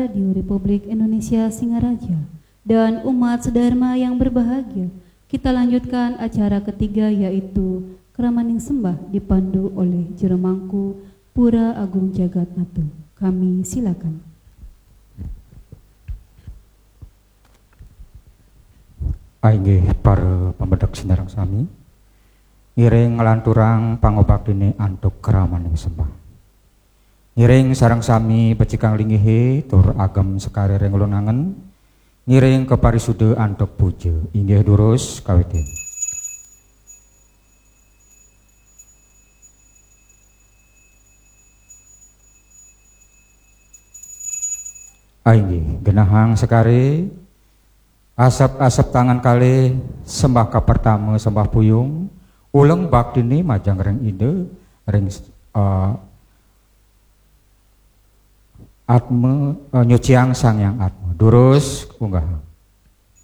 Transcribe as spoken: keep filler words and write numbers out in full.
Radio Republik Indonesia Singaraja dan umat sedharma yang berbahagia, kita lanjutkan acara ketiga, yaitu Kramaning Sembah, dipandu oleh Jero Mangku Pura Agung Jagat Nata. Kami silakan. Inggih para pamedek sinareng sami, ngiring nglanturang pangobaktine antuk kramaning sembah. Ngiring sareng sami becikang lingihe tur agem sekare ring lunangen, ngiring kaparisuda antuk puja. Inggih durus kawitin. Inggih, genahang sekare, asep-asep tangan kalih, sembah kapertama, sembah puyung, uleng baktine majeng ring Ida, ring, eh, Atma, eh, nyuciang Sang Hyang Atma. Durus, unggahang.